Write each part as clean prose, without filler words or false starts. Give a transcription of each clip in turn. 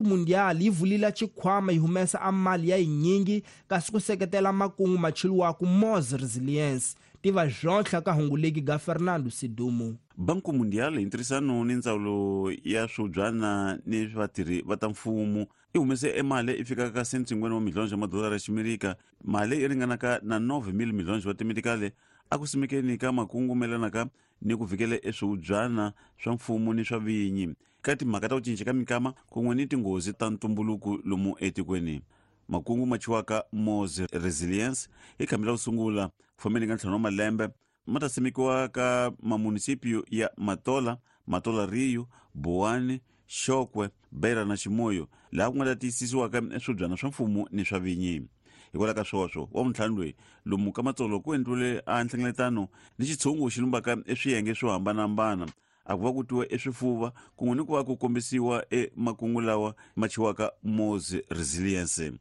Mundial yi vulile xikhwama yi humesa a mali ya yinyingi kasi ku seketela makungu machiliwaku Mos Resilience tiva zvontlha ka hunguleki ga Fernando Sidumo. Banku Mundial hi ntirhisano ni ndzawulo ya swibyana ni vatirhi va ta mfumo i humese emali i fikaka ka 150 wa milhonjo ya madolara ya ximerika, mali i ringanaka na 9,000 milhonjo wa timedikale a ku simekeni ka makungu melanaka ni ku vikela eswihubyana swa mfumo ni swa vinyi ka timhaka ta ku cinca ka minkama kun'we ni tinghozi ta ntumbuluko lomu etikweni. Makungu ma chiwaka Mos Resilience i khambi ra ku sungula ku fambeni ka ntlhanu wa malembe ma ta simekiwa ka mamunisipio ya Matola, Matola Rio, Boane, Xokwe, Beira na Chimoio, laha ku nga ta tiyisisiwaka swibyana swa mfumo ni swa vinyi. Hikwalaho ka swoswo, wa vuntlhanu loyi lomu ka Matsolo ku endliwile a nhlengeletano ni xitshungu xi lumbaka eswiyenge swo hambanahambana, a ku va ku twiwa eswifuva kun'we ni ku va ku kombisiwa emakungu lawa ma chiwaka Mos Resilience.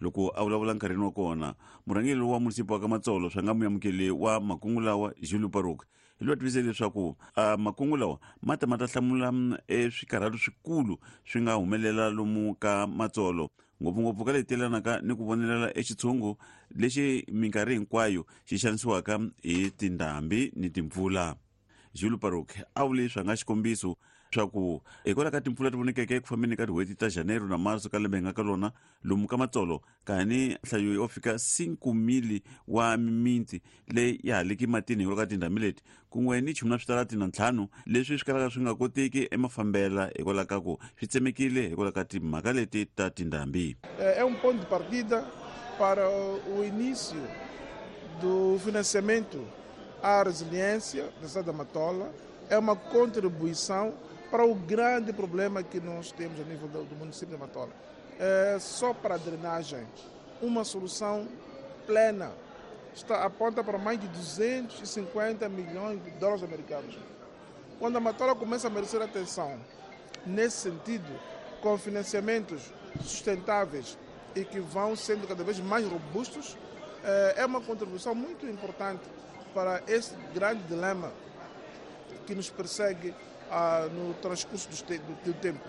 Loko a vulavula nkarhini wa kona, murhangeri wa munisipa wa ka Matsolo swa nga muyamukeli wa makungu lawa Julio Paruk hi loyi a tivise leswaku makungu lawa ma ta ma ta hlamula eswikarhalo swikulu swi nga humelela lomu ka Matsolo, ngopfungopfu ka leyi telanaka ni ku vonelela exitshungu lexi minkarhi hinkwayo xi xanisiwaka hi tindhambi ni timpfula. Julio Paruk a vule swa nga xikombiso swa ku hikwalaho ka timpfula ti vonekeke eku fambeni ka tin'hweti ta Janeiro na Marso ka lembe hi nga ka lona lomu ka Matsolo, kani nhlayo yo fika 5,000 wa mimiti leyi ya ha leki matini hikwalaho ka tindhambi leti, kun'we ni chumu na switarati na ntlhanu leswi swi kalaka swi nga koteki emafambela hikwalaho ka ku swi tsemekile hikwalaho ka timhaka leti ta tindhambi. É um ponto de partida para o início do financiamento à resiliência da cidade da Matola. É uma contribuição para o grande problema que nós temos a nível do município de Matola. É só para a drenagem, uma solução plena está aponta para mais de 250 milhões de dólares americanos. Quando a Matola começa a merecer atenção, nesse sentido, com financiamentos sustentáveis e que vão sendo cada vez mais robustos, é uma contribuição muito importante para esse grande dilema que nos persegue no transcurso do tempo.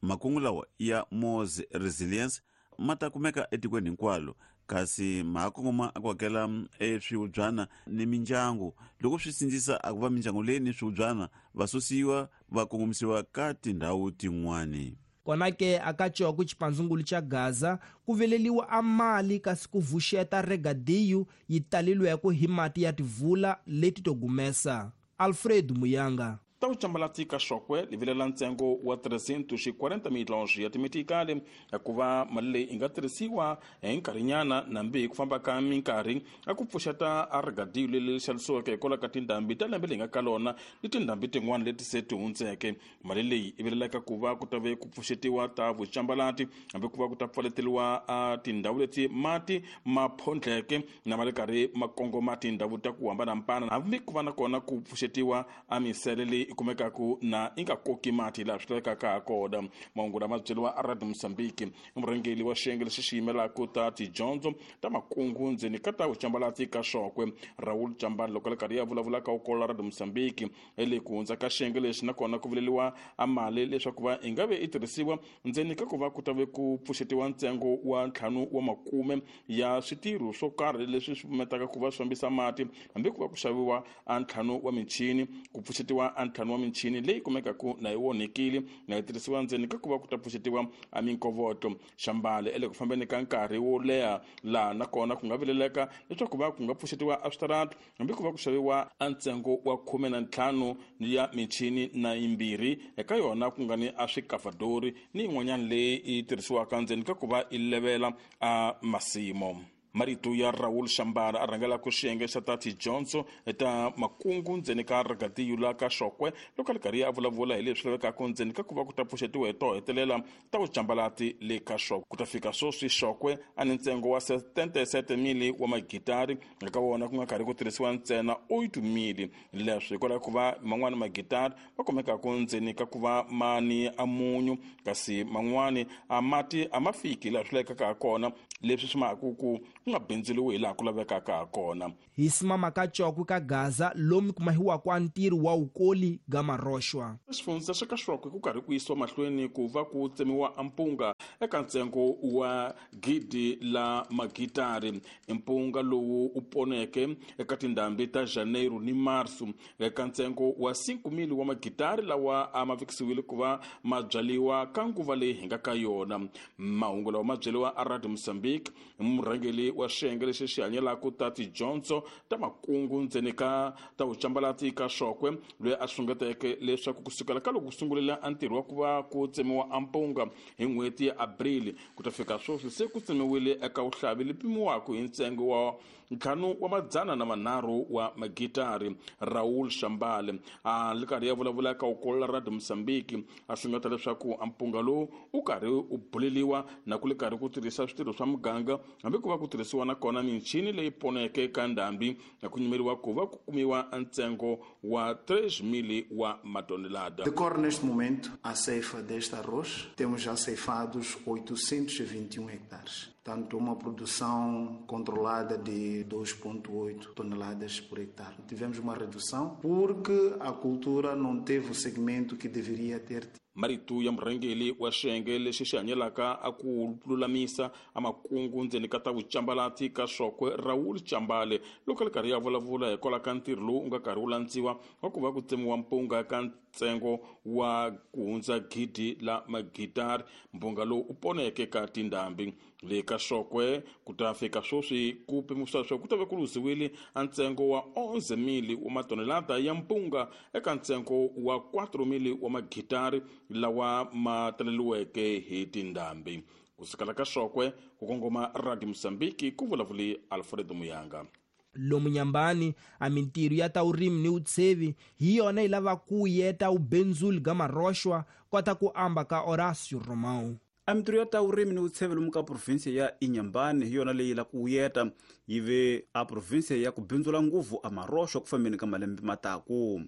Makungu lawa ya Mos Resilience ma ta kumeka etikweni hinkwalo, kasi ma ha kongoma ku hakela eswihubyana ni mindyangu loko swi sindzisa a ku va mindyangu leyi ni swihubyana va susiwa va kongomisiwa ka tindhawu tin'wani. Kona ke aka Coko xipandzungulu xa Gaza ku veleliwa a mali kasi ku vuxeta regadiyu yi talilweko hi mati ya tivula leti to gumesa. Alfred Muyanga. Ta vucambalati ka Xokwe li vilela ntsengo wa 340 milhões ya timetikali hikuva mali leyi yi nga tirhisiwa hi nkarhinyana nambi hi ku famba ka minkarhi a ku pfuxeta a rigadiyo leri xavisiweke hikwalaho ka tindhambi ta lembe leyi nga ka lona ni tindhambi tin'wana leti se ti hundzeke. Mali leyi yi vilelaka ku va ku ta ve ku pfuxetiwa ta vucambalati hambi ku va ku ta pfaleteliwa a tindhawu leti mati ma phondleke na ma ri karhi ma kongoma tindhawu ta ku hambanahambana, hambi ku va na kona ku pfuxetiwa a misele leyi i kumekaka na yi nga koki mati laha swi lavekaka ha kona. Mahungu lama byeriwa a Radio Mozambique i murhangeri wa xiyenge lexi xi yimelaka ta tidyondzo ta makungu ndzeni ka ta vucambalati ka Xokwe, Raul Chambani, loko a ri karhi ya vulavula ka ukolo Radio Mozambique le ku hundza ka xiyenge lexi nakona ku vuleliwa a mali leswaku va yi nga ve yi tirhisiwa ndzeni ka ku va ku ta ve ku pfuxetiwa ntsengo wa ntlhanu wa makume ya switirho swo karhi leswi swi pfumetaka ku va swi fambisa mati, hambi ku va ku xaviwa a ntlhanu wa michini, ku pfuxetiwa a ntlhanu wa michini leyi kumekaka na yi onhekile na yi tirhisiwa ndzeni ka ku va ku ta pfuxetiwa a minkovotlo. Xambale ele ku fambeni ka nkarhi wo leha laha nakona ku nga vileleka leswaku va ku nga pfuxetiwa a switarata hambi ku va ku xaviwa a ntsengo wa 15 ya michini na yimbirhi eka yona ku nga ni a swikafadori ni yin'wanyana leyi yi tirhisiwaka ndzeni ka ku va yi levela a masimo. Marito ya Raul Xambara a rhangelaka xiyenge xa ta tidyondzo ta makungu ndzeni ka rigadiyo la ka Xokwe loko a ri karhi a vulavula hi leswi lavekaka ndzeni ka ku va ku ta pfuxetiwa hi to hetelela ta vucambalati le ka Xokwe. Ku ta fika sweswi Xokwe a ni ntsengo wa 77,000 wa magitari, eka wona ku nga karhi ku tirhisiwa ntsena 8,000. Leswi hikwalaho ku va man'wani magitari ma kumekaka ndzeni ka ku va ma ni a munyu, kasi man'wani a mati a ma fiki laha swi lavekaka ha kona, leswi swi maka ku ku nga bindzuriwi hi laha ku lavekaka ha kona. Hi simama ka Cokwe ka Gaza lomu kumahiwaka a ntirho wa wukoli ga maroxwa. Xifundza xa ka Xokwe ku karhi ku yisiwa mahlweni ku va ku tsemiwa mpunga eka ntsengo wa 1,000 la magitari. Mpunga lowu u poneke eka tindhambi ta Janeiro ni Marso eka ntsengo wa 5,000 wa magitari lawa a ma vekisiwile ku va ma byaliwa ka nguva leyi hi nga ka yona. Mahungu lawa ma byeliwa a Radio Mozambique murhangeri wa xiyenge lexi xi hanyelaka ta tidyondzo ta makungu ndzeni ka ta vucambalati ka Xokwe, loyi a sungeteke leswaku kusukela ka loko ku sungulela a ntirho wa ku va ku tsemiwa a mpunga hi n'hweti ya April ku ta fika sweswi se ku tsemiwile eka vuhlavi lebyi pimiwaka hi ntsengo wa 503 wa magitari. Raul Shambale a li karhi ya vulavula ka ukolola Radio Mozambique a sungeta leswaku a mpunga lowu u karhi u buleliwa na ku li karhi ku tirhisa switirho swa muganga hambi ku va ku tirhisiwa na kona michini leyi poneke ka ndhambi na ku nyimeriwa ku va ku kumiwa ntsengo wa 3,000 wa matonelada. Decorre neste momento a ceifa deste arroz, temos já ceifados 821 hectares. Tanto uma produção controlada de 2,8 toneladas por hectare. Tivemos uma redução porque a cultura não teve o segmento que deveria ter. Marito ya murhangeri wa xiyenge lexi xi hanyelaka a ku lulamisa a makungu ndzeni ka ta vucambalati ka Xokwe, Raul Chambale, loko a ri karhi ya vulavula hikwalaho ka ntirho lowu u nga karhi wu landziwa wa ku va ku tsemiwa mpunga ka ntsengo wa ku hundza 1,000 la magitari. Mpunga lowu u poneke ka tindhambi le ka Xokwe ku ta fika sweswi ku pimisiwa leswaku ku ta va ku luziwile a ntsengo wa 11,000 wa matonelada ya mpunga eka ntsengo wa 4,000 wa magitari lawa ma taleliweke hi tindhambi. Kusukela ka Xokwe ku kongoma Radio Mozambique, ku vulavuli Alfredo Muyanga. Lomu nyambani a mintirho ya ta urimi ni utsevi hi yona yi lava ku yeta ubenzuli ga maroxwa kota ku amba ka Horácio Romão. A mintirho ya ta urimi ni utsevi lomu ka provinsia ya Inhambane hi yona leyi la ku yeta yi ve a provinsia ya ku bindzula nguvu a maroxwa ku fambeni ka malembe mataku.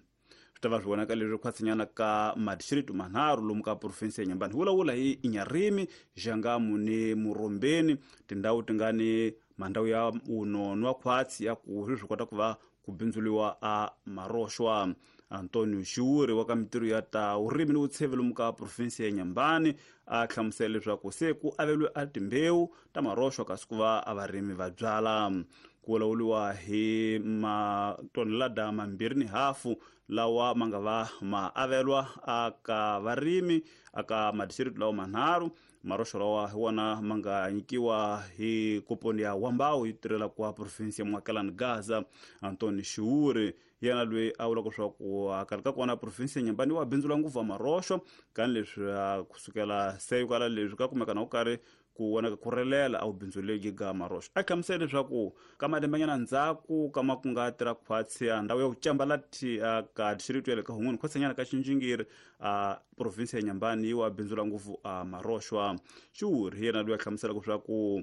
Swi ta va swi vonaka leswi khwatsinyana ka madistrito manharhu lomu ka provinsia ya Inhambane. Hi vulavula hi Inharime, Jangamo ni Murombeni, tindhawu ti nga ni mandhawu ya unonwa khwatsi ya ku swi kota ku va ku bindzuliwa a maroxwa. Antonio Xiuri wa ka mintirho ya ta urimi ni vutsheve lomu ka provinsia ya Inhambane a hlamusela leswaku se ku avelwe a timbewu ta maroxwa kasi ku va a varimi va byala. Ku vulavuriwa hi matonelada 2.5 lawa ma nga va ma avelwa aka varimi aka madistrito lawa manharhu. Maroxo lawa hi wona ma nga nyikiwa hi koponi ya Wambawu yi tirhela kwa provinsia ya Mwakelani Gaza. Antoni Xiuri yena loyi a vulaka leswaku a karhi ka kona provinsia ya Inhambane wa bindzula nguvu maroxo kani leswi kusukela se kwala leswi ka kumeka na ku karhi ku vonaka ku relela a wu bindzuleki ga maroxo. A hlamusela leswaku ka malembenyana ndzhaku ka ma ku nga tirha khwatsi a ndhawu ya ku cambalati ka distrito ya le ka Hun'wini khwatsinyana ka Xinjingiri a provinsia ya Inhambane yi wa bindzula ngopfu a maroxwa. Xiuri hi yena loyi a hlamuselaka leswaku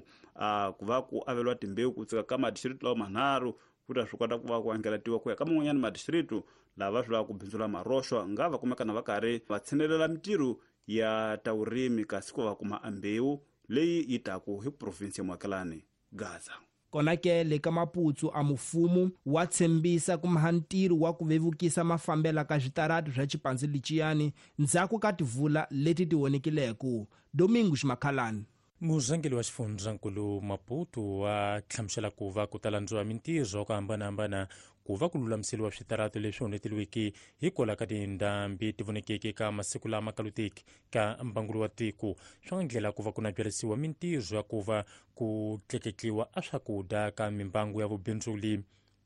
ku va ku avelwa timbewu ku tsika ka madistrito lawa manharhu ku ta swi kota ku va ku angelatiwa ku ya ka man'wanyana madistrito lava swi lavaka ku bindzula maroxwa nga va kumeka na va karhi va tshinelela mintirho ya ta vurimi kasi ku va kuma ambewu leyi yi taku hi provinsi ya Mwakelani Gaza. Kona ke le ka Maputsu a mufumo wa tshembisa ku maha ntirho wa ku vevukisa mafambela ka switarati swa xipandzi leciyani ndzhaku ka tivula leti ti vonekileko. Domingos Makhalani. Murhangeri wa xifundzankulu Maputo wa hlamusela ku va ku talandziwa mintirho ku hambanahambana ku va ku lulamiseriwa switarati leswi onheteliweke hikwalaho ka tindhambi ti vonekeke ka masiku lama kaluteki ka mbangulo wa tiko. Swi nga ndlela ku va ku na byarisiwa mintirho ya ku va ku tleketliwa a swakudya ka mimbangu ya vubindzuli.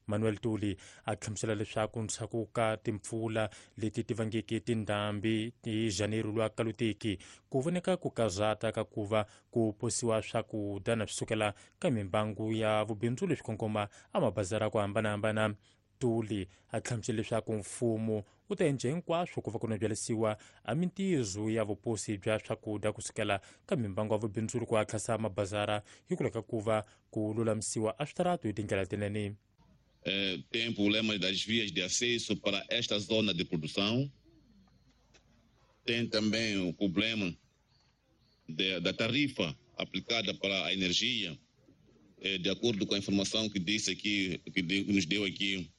Manuel Tuli a hlamusela leswaku ndzhaku ka timpfula leti ti vangeke tindhambi hi Janeiro lwa kaluteki ku voneka ku kazata ka ku va ku posiwa swakudya na swi sukela ka mimbangu ya vubindzu leswi kongoma a mabazara ku hambanahambana. Tuli a hlamusela leswaku mfumo wu ta endla hinkwaswo ku va ku nabyalisiwa a mintirho ya vuposi bya swakudya kusukela ka mimbangu ya vubindzuri ku hatlisa mabazara hikwalaho ka ku va ku lulamisiwa a switarati hi tindlela tinene. Tem problema das vias de acesso para esta zona de produção. Tem também o problema da tarifa aplicada para a energia, De acordo com a informação que disse aqui, que nos deu aqui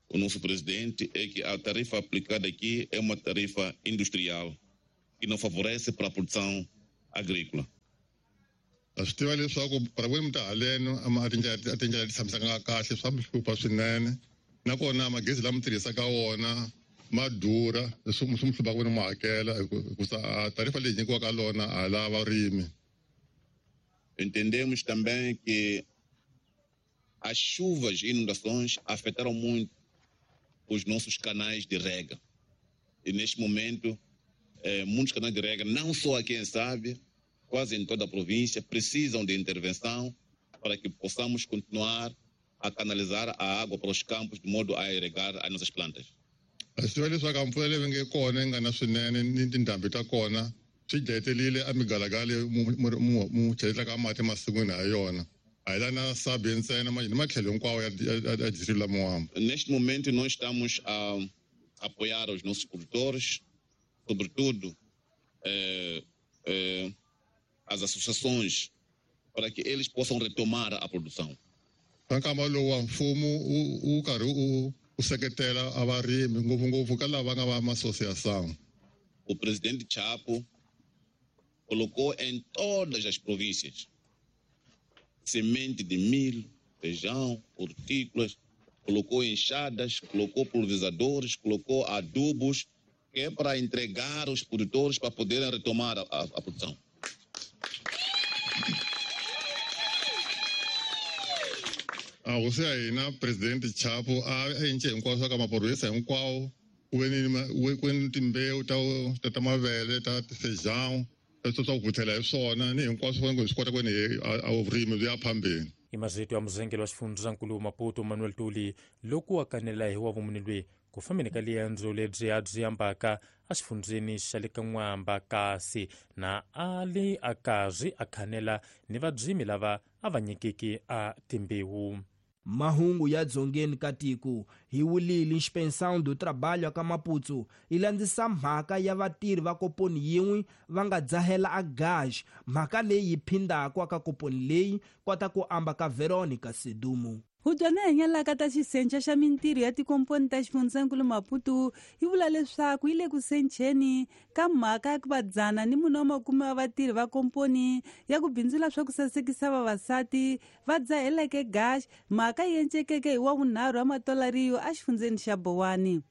o nosso presidente, é que a tarifa aplicada aqui é uma tarifa industrial que não favorece para a produção agrícola. Swi tiva leswaku para vurimi ta haleno a tindlela ti tshamisaka kahle swa mi hlupha swinene nakona magezi lama tirhisaka wona ma durha leswi swi mi hluphaka vona mu hakela hikusa tarifa leyi nyikiwaka lona a la varimi. Entendemos também que as chuvas e inundações afetaram muito os nossos canais de rega. E neste momento, muitos canais de rega, não só aqui em Sábia, quase em toda a província, precisam de intervenção para que possamos continuar a canalizar a água para os campos de modo a irrigar as nossas plantas. Swi tiva leswaku mpfula leyi nge kona yi nga na swinene ni tindhambi ta kona swi dlayetelile a migalagala mu cheletaka mati emasin'wini ha yona. A hi la na Sabie ntsena ni matlhelo hinkwawo ya distrito la Moamba. Neste momento nós estamos a apoiar os nossos produtores, sobretudo as associações, para que eles possam retomar a produção. Nkama lowu wa mfumo wu karhi u seketela a varimi ngopfungopfu ka lava nga va ma-associação. O presidente Chapo colocou em todas as províncias semente de milho, feijão, hortícolas, colocou enxadas, colocou pulverizadores, colocou adubos, que é para entregar aos produtores para poderem retomar a produção. A hosi ya hina presidente Chapo a endle hinkwaswo ka maphorisa hinkwawo ku ve ni timbewu ta mavele ta feijão swa ku vuthela hi swona ni hinkwaswo hi swi kota ku ni a vurimi byi ya phambeni. I mazito ya muzengeli wa xifundzankulu Maputo Manuel Tuli loko a kanela hi wa vumuni lweyi ku fambeni ka liendzo lebyi a byi ambaka exifundzeni xa le ka N'wamba kasi na a li a karhi a khanela ni vadzimi lava a va nyikiki a timbewu. Mahungu ya dzongeni ka tiko hi wulile Inspeção do Trabalho ka Maputo yi landzisa mhaka ya vatirhi va koponi yin'we va nga dzahela a gaj mhaka leyi yi phindaka ka koponi leyi kota ku amba ka Veronica Sedumo. Hubyana hanyalaka ta xisenca xa mintirho ya tikomponi ta xifundzankulu Maputo yi vula leswaku yi le ku sencheni ka mhaka ya ku va 410 wa vatirhi va komponi ya ku bindzula swa ku sasekisa vavasati va dzaheleke gash mhaka yi encekeke hi wa vunharhu wa matolariyo exifundzeni xa Bowani.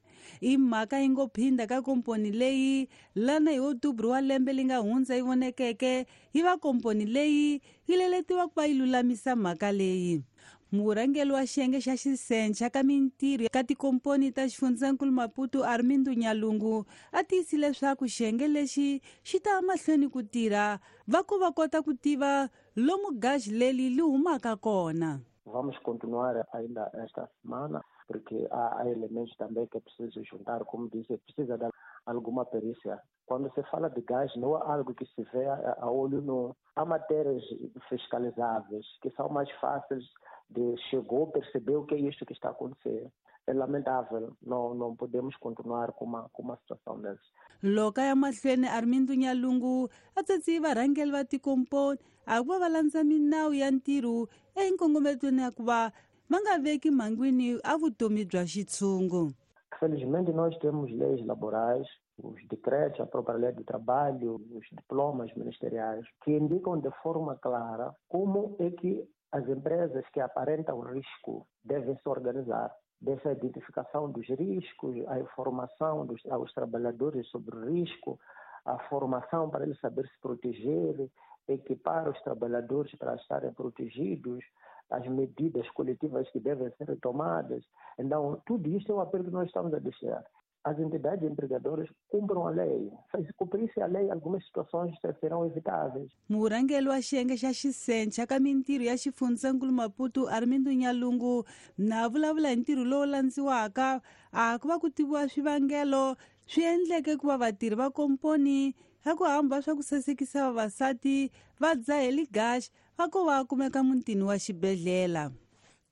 I mhaka yi ngo phinda ka komponi leyi lana hi Otubru wa lembe li nga hundza yi vonekeke yi va komponi leyi yi leletiwa ku va yi lulamisa mhaka leyi. Murhangeri wa xiyenge xa xisenca ka mintirho ka tikomponi ta xifundzankulu Maputo Armindo Nyalungu a tiyisile leswaku xiyenge lexi xi ta mahlweni ku tirha va ku va kota ku tiva lomu gaji leri li humaka kona. Vamos continuar ainda esta semana porque há elementos também que é preciso juntar, como disse, precisa de alguma perícia. Quando se fala de gás, não é algo que se vê a olho nu. Há matérias fiscalizáveis que são mais fáceis de chegou, percebeu o que é isto que está a acontecer. É lamentável, não podemos continuar com uma situação dessas. Loka ya mahlweni Armindo Nyalungu a tsatsi varhangeri va tikomponi a ku va va landza minawu ya ntirho enkongometweni ya ku va va nga veki mhangwini a vutomi bya xitshungu. Felizmente nós temos leis laborais, os decretos, a própria lei do trabalho, os diplomas ministeriais, que indicam de forma clara como é que as empresas que aparentam risco devem se organizar. Dessa identificação dos riscos, a informação aos trabalhadores sobre o risco, a formação para eles saber se proteger, equipar os trabalhadores para estarem protegidos, as medidas coletivas que devem ser tomadas. Então, tudo isso é um apelo que nós estamos a deixar. As entidades empregadoras cumpram a lei. Se cumprisse a lei, algumas situações serão evitáveis. Murhangeri wa xiyenge xa xisenca ka mintirho ya xifundzankulu Maputo Armindo Nyalungu na vulavula hi ntirho lowu landziwaka a ku va ku tiviwa swivangelo swi endleke ku va vatirhi va komponi ya ku hamba swa ku sasekisa vavasati va dzaheli gash va ko va kumeka mutini wa xibedhlele.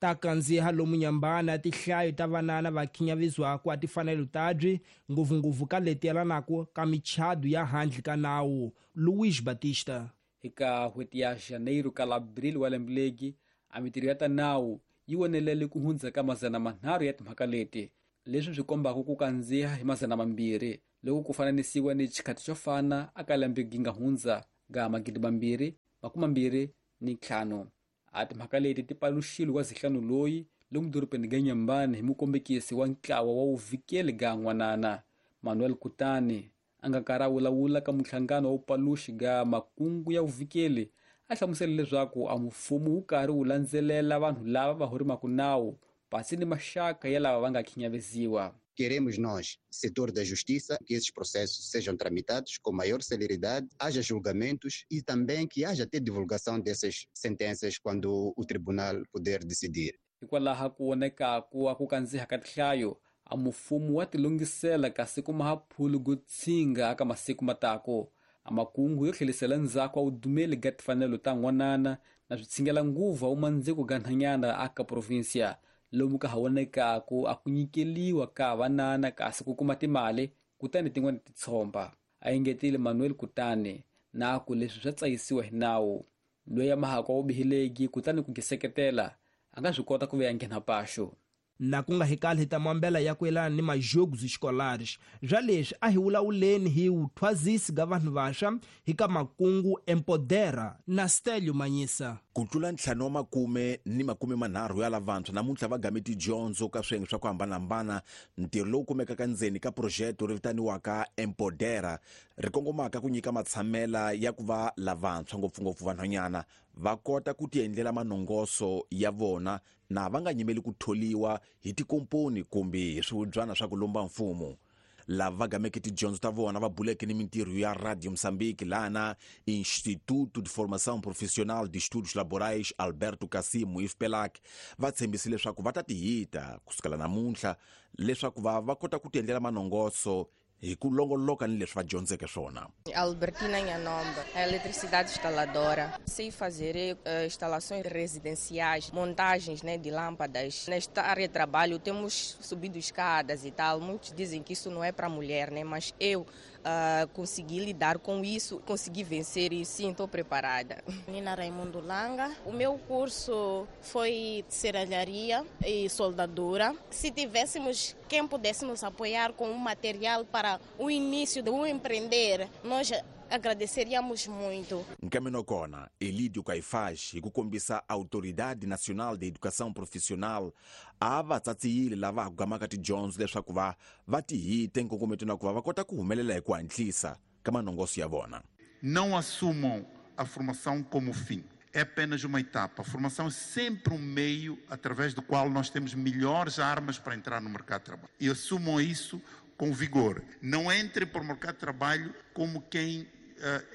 Ta kandziha lomu nyambana tihlayo ta vanana va khinyavizwako a tifanelo tabyi ngopfungopfu ka leti yelanaka ka michado ya handle ka nawu. Luiz Batista. Eka n'hweti ya Janeiro ka la Abril wa lembe legi A mitirho ya ta nawu yi wonelele ku hundza ka 300 ya timhaka leti, leswi swi kombaka ku kandziha hi 200 loko ku fananisiwa ni xikhathi xo fana aka lembe gi nga hundza ga 2025. A timhaka leti ti paluxile wa zihlanu loyi lomu dorobeni ga Nyambani hi mukombekisi wa ntlawa wa vuvikeli ga n'wanana Manuel Kutani, a nga karhi a vulavula ka muhlangano wa vupaluxi ga makungu ya vuvikeli. A hlamusela leswaku a mfumo wu karhi wu landzelela vanhu lava va horimaka nawu pasi ni maxaka ya lava va nga khinyaveziwa. Queremos nós, setor da justiça, que esses processos sejam tramitados com maior celeridade, haja julgamentos e também que haja até divulgação dessas sentenças quando o tribunal puder decidir. Hikwalaho ku vonekaku a ku kandziha ka tinhlayo, a mfumo wa tilungisela kasi ku mahaphulu go tshinga aka masiku matako. A makungu yo tlhelisela ndzhaku a vudumeli ga timfanelo ta n'wanana na switshingela nguva wu mandziko ga nhanyana aka provinsia, lomu ka ha vonekaku a ku nyikeliwa ka vanana kasi ku kuma timali kutani tin'wana ti tshomba. A engetile Manuel Kutani na ku leswi swa tsayisiwa hi nawu. Loyi a mahaka wa vubihileki kutani ku giseketela a nga swi kota ku veya nghena paxo. Na ku nga hikali hi ta mambela ya ku yelana ni majogos escolares. Bya leswi a hi vulavuleni hi vuthwazisi ga vanhu vantshwa hi ka makungu Empodera na Stelio Manyisa. Ku tlula 530 ya lavantshwa namuntlha va game tidyondzo ka swiyenge swa ku hambanahambana. Ntirho lowu kumekaka ndzeni ka projeto ri vitaniwaka Empodera ri kongomaka ku nyika matshamela ya ku va lavantshwa ngopfungopfu vanhwanyana va kota ku tiendlela manongoso ya vona na va nga nyimeli ku tholiwa hi tikomponi kumbe hi swihubyana swa ku lomba mfumo. Lava va gameke tidyondzo ta vona va buleke ni mintirho ya Radio Moçambique lana Instituto de Formação Profissional de Estudos Laborais Alberto Cassimo IFPELAC va tshembise leswaku va ta tihita kusukela namuntlha leswaku va kota ku tiendlela manongoso hi ku longoloka ni leswi va dyondzeke swona. Albertina Nhanomba, eletricidade instaladora. Sei fazer instalações residenciais, montagens, né, de lâmpadas. Nesta área de trabalho temos subido escadas e tal. Muitos dizem que isso não é para mulher, né, mas eu consegui lidar com isso, consegui vencer e sim, estou preparada. Nina Raimundo Langa. O meu curso foi de serralharia e soldadura. Se tivéssemos quem pudesse nos apoiar com um material para o início de um empreender, nós agradeceríamos muito. Nkameno kona, Elidio Caifás, hi ku kombisa Autoridade Nacional de Educação Profissional, a va tsatsiyile lava ha ku gamaka tidyondzo leswaku va tihite nkongometo na ku va kota ku humelela hi ku hatlisa ka manongoso ya vona. Não assumam a formação como fim. É apenas uma etapa. A formação é sempre um meio através do qual nós temos melhores armas para entrar no mercado de trabalho. E assumam isso com vigor. Não entrem para o mercado de trabalho como quem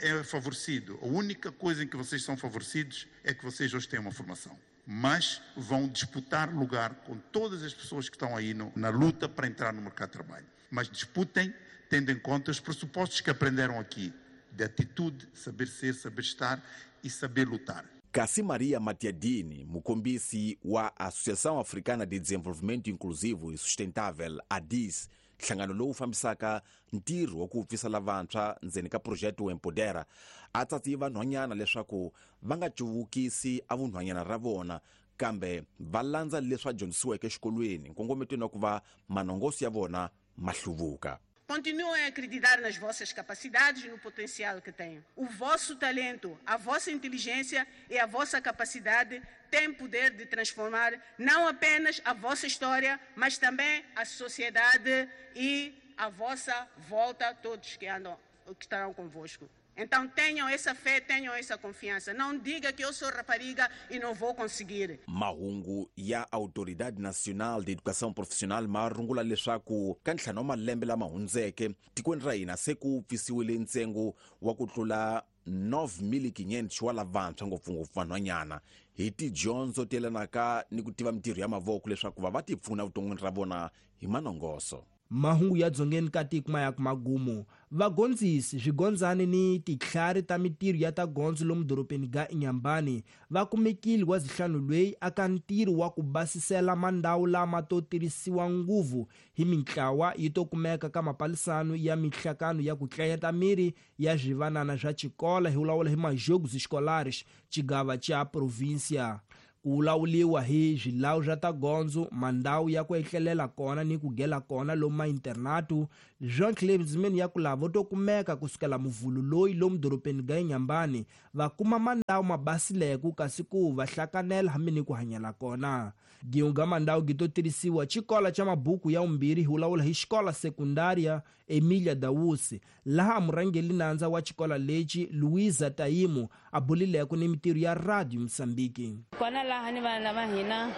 é favorecido. A única coisa em que vocês são favorecidos é que vocês hoje têm uma formação. Mas vão disputar lugar com todas as pessoas que estão aí na luta para entrar no mercado de trabalho. Mas disputem tendo em conta os pressupostos que aprenderam aqui, de atitude, saber ser, saber estar e saber lutar. Kasi Maria Matiadini, mukombisi wa Associação Africana de Desenvolvimento Inclusivo e Sustentável, ADIS, nhlangano lowu fambisaka ntirho wa ku pfisa lavantshwa ndzeni ka projeto Empodera, a tsatsiyi vanhwanyana leswaku va nga cuvukisi a vunhwanyana ra vona kambe va landza leswi va dyondzisiweke exikolweni nkongometweni wa ku va manongoso ya vona ma hluvuka. Continuem a acreditar nas vossas capacidades e no potencial que têm. O vosso talento, a vossa inteligência e a vossa capacidade têm poder de transformar não apenas a vossa história, mas também a sociedade e a vossa volta, todos que andam, que estarão convosco. Então tenham essa fé, tenham essa confiança. Não diga que eu sou rapariga e não vou conseguir. Mahungu ya Autoridade Nacional de Educação Profissional ma rungula leswaku ka ntlhanu wa malembe lama hundzeke tikweni ra hina se ku pfisiwile ntsengo wa ku tlula 9500 wa lavantshwa ngopfungopfu vanhwanyana hi tidyondzo ti yelanaka ni ku tiva mintirho ya mavoko leswaku va ti pfuna vuton'wini ra vona hi manongoso. Mahungu ya dzongeni ka tiko ma ya ku magumu. Vagondzisi swigondzani ni titlhari ta mintirho ya ta gondzo lomu dorobeni ga Inhambane va kumekile wa zihlanu lweyi aka ntirho wa ku basisela mandhawu lama to tirhisiwa nguvu hi mintlawa yi to kumeka ka mapalisano ya mihlakano ya ku tlayeta miri ya swivanana swa xikola hi vulavula hi majogos escolares xigava xa província. Ku vulavuriwa hi swilawu swa ta gondzo, mandhawu ya ku etlelela kona ni ku gela kona lomu mainternatu. Jean Clemsman ya ku lava to kumeka kusukela muvhulu loyi lomu dorobeni ga Inhambane va kuma mandhawu mabasileko kasi ku va hlakanela hambi ni ku hanyela kona. Giunga mandhawu gi to tirhisiwa xikola xa mabuku ya vumbirhi hi vulavula hi xikola sekundaria Emilia Dawusi, laha murhangeri nandza wa xikola lexi Luisa Taimu a bulileko ni mintirho ya Radio Mozambique. Kona laha ni vana va hina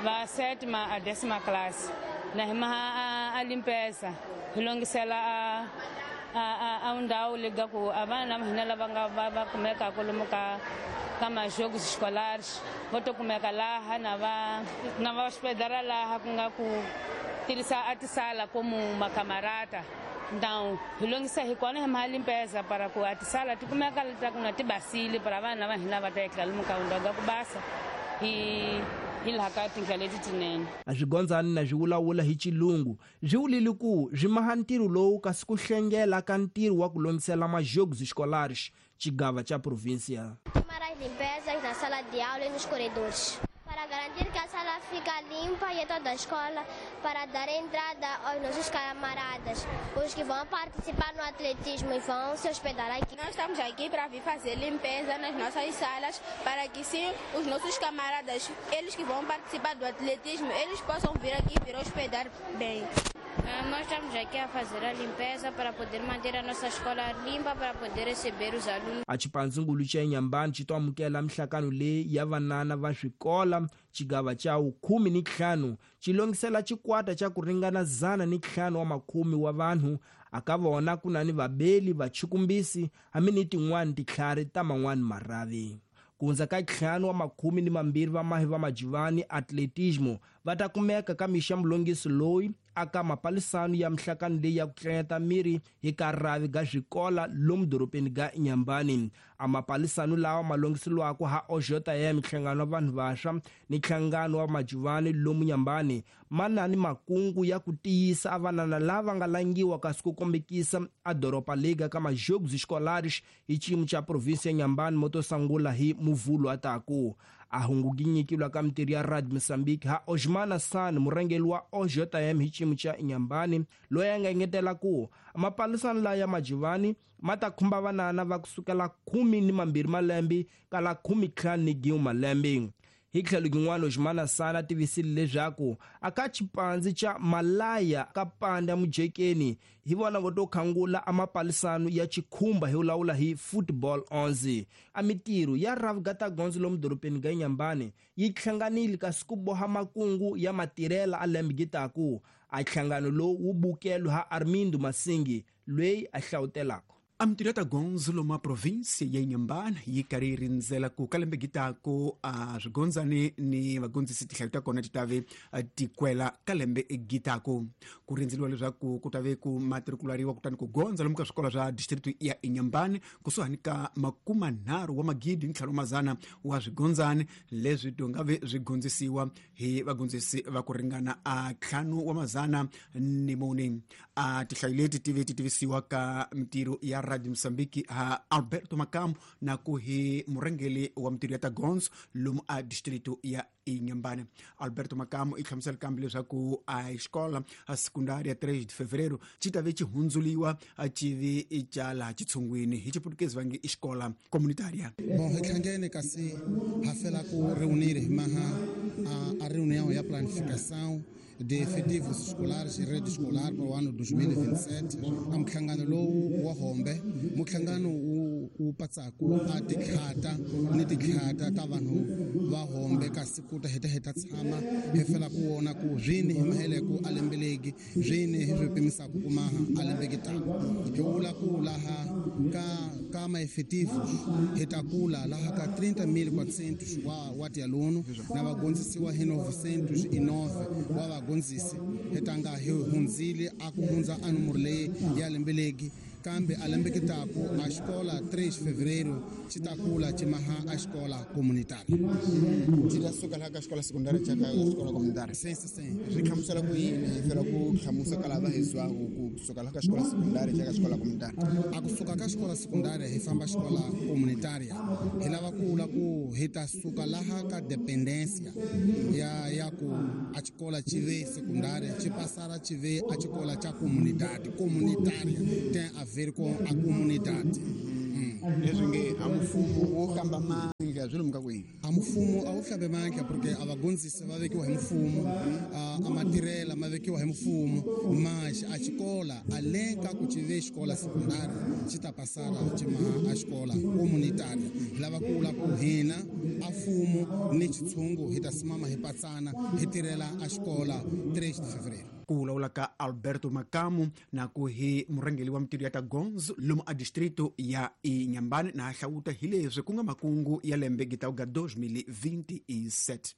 va sétima a décima classe na hi maha a limpeza hi longisela a ndhawu leyi ku a vana va hina lava nga va kumekaka lomu ka majogos escolares vo to kumeka laha na va hospedara laha ku nga ku tirhisa a tisala como macamarata. Então, hi longisa hi kona hi maha limpeza para ku a tisala ti kumeka ta ku na ti basile para vana va hina va ta etlela lomu ka ndhawu ya ku basa hi laha ka tindlela leti tinene. A swigondzani na swi vulavula hi xilungu swi vulile ku swi maha ntirho lowu kasi ku hlengela ka ntirho wa ku longisela majogos escolares xigava xa província. Tomar as limpezas na sala de aula e nos corredores para garantir que a sala fica limpa e toda a escola, para dar entrada aos nossos camaradas, os que vão participar no atletismo e vão se hospedar aqui. Nós estamos aqui para vir fazer limpeza nas nossas salas, para que sim, os nossos camaradas, eles que vão participar do atletismo, eles possam vir aqui e vir hospedar bem. Nós estamos aqui a fazer a limpeza para poder manter a nossa escola limpa, para poder receber os alunos. A xipandzungulu xa Inhambane xi to amukela mihlakano leyi ya vanana va swikola xigava xa 15 xi longisela xikwata xa ku ringana 105 wa makhume wa vanhu. Aka vona ku na ni vabeli vachikumbisi hambi ni tin'wani titlhari ta man'wani marhavi. Ku hundza ka 5 wa makhume ni mambirhi va mahi va majivani atletismo va ta kumeka ka mixa mulongisi loyi aka mapalisano ya mihlakano leyi ya ku tlanyeta miri hi ka rhavi ga swikola lomu dorobeni ga Inhambane. A mapalisano lawa ma longisiwaka ha OJM, nhlangano wa vanhu vantshwa ni nhlangano wa majivani lomu Inhambane, ma na ni makungu ya ku tiyisa a vanana lava nga langiwa kasi ku kombekisa a doroba liga ka majogos escolares hi xiyimo xa província ya Inhambane mo to sungula hi muvhulu a taku. A hunguginyikilwa ka mintirho ya Radio Mozambique ha Osmana San, murhangeri wa OJM hi xiyimo xa Inhambane, loyi a nga engetela ku mapalisano laya ya majivani ma ta khumba vanana va kusukela 12 malembe kala 15 malembe. Hi tlhelo rin'wana, Osmana San a tivisile leswaku aka xipandzi xa Malaya ka panda mujekeni hi vona vo to khangula a mapalisano ya xikhumba hi vulavula hi football 11. A mintirho ya Ravgata Gondzo lomu dorobeni ga Inhambane yi hlanganile kasi ku boha makungu ya matirhela a lembe gitaku. A nhlangano lowu wu bukelwe ha Armindo Masingi loyi a hlawutelaka. A mintirho ya ta gondzo lomu a província ya Inhambane yi karhi yi rindzela ku ka lembe gitako a swigondzani ni vagondzisi tihlayo ta kona ti ta ve ti kwela ka lembe gitako. Ku rindzeliwa leswaku ku ta ve ku matrikulariwa kutani ku gondza lomu ka swikolo swa district ya Inhambane kusuhani ka 30 wa magidi ni 500 wa swigondzani leswi to nga ve swi gondzisiwa hi vagondzisi va ku ringana a 504. A tihlayo leti ti ve ti tivisiwa ka mintirho ya Radio Mozambique ha Alberto Makamu na ku hi murhangeri wa mintirho ya ta gondzo lomu a distrito ya Inhambane. Alberto Makamu i hlamusela kambe leswaku a xikola a secundária 3 de fevereiro xi ta ve xi hundzuliwa xi vi xa laha xitshungwini hi xiputukezi va nge i xikola comunitária. Bom, hi hlangene kasi ha fela ku reunir hi maha a reunião ya planificação de efetivos escolares e rede escolar para o ano 2027. A muhlangano lowu wa Hombe, muhlangano wu patsaku a tikhata ni tikhata ta vanhu va Hombe kasi ku ta heta tshama hi fela ku vona ku swini hi maheleko a lembeleki swini hi swi pimisaka ku maha a lembeki ta hi vula ku laha ka ma efetivos hi ta kula laha ka 30.400 wa tialuno na vagondzisiwa hi 909 wa vagondzisi hi tanga hi hundzile a ku hundza a nomoro leyi ya lembeleki Kambe a lembe kitaku a xikola 3 fevereiro xi ta kula xi maha a xikola comunitária. Ti ta suka laha ka xikola secundária xa ka xikola comunitária. Sim, sim, sim. Ri hlamusela ku yini hi fela ku hlamusa ka lava hi zwaku ku suka laha ka xikola secundária xa ka xikola comunitária? A kusuka ka xikola secundária hi famba xikola comunitária. Hi lava ku vula ku hi ta suka laha ka dependência ya ku a xikola xi ve secundária xi passara xi ve a xikola xa comunidade. Comunitária tem a ver com a comunidade. Leswi nge a mfumo wo kamba mandla swi lomu ka kwihi? A mfumo a wu hlambe mandla porque a vagondzisi va vekiwa hi mfumo, a matirhela ma vekiwa hi mfumo, mas a xikola além ka ku xi ve xikola secundária xi ta passara xi ma a xikola comunitária. Hi lava ku vula ku hina a mfumo ni xitshungu hi ta simama hi patsana hi tirhela a xikola 3 de fevereiro. Ku vulavula ka Alberto Makamu na ku hi murhangeri wa mintirho ya ta gondzo lomu a distrito ya Inhambane na hlawuta hi leswi ku nga makungu ya lembe gitauga 2027.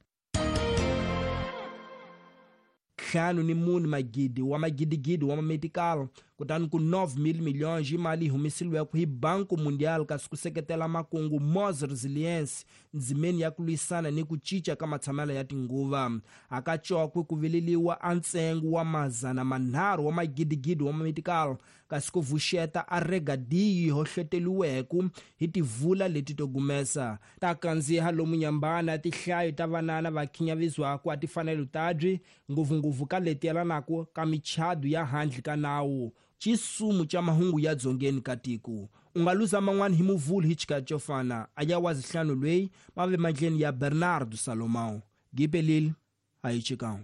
54 magidi wa magidigidi wa mametikala kutani ku 9,000 milhões de mali humesiliweke hi Banco Mundial kasi ku seketela makungu Mos Resilience ndzimeni ya ku lwisana ni ku cinca ka matshamelo ya tinguva. Hakacokwe ku vileliwa a ntsengo wa 300 wa magidigidi wa mametikala kasi ku vuxeta a regadiyi hohloteriweke hi tivula leti to gumesa ta kandziha lomu Nyambana tihlayo ta vanana va khinyavizwaku a tifanelo tabyi ngopfungopfu ka leti yelanaka ka michado ya handle ka nawu. Xisumu xa mahungu ya dzongeni ka tiko u nga luza man'wana hi muvhulu hi xikati xo fana a ya wazihlanu lweyi mave mandleni ya Bernardo Salomão. Gipelile a yi chikan'we.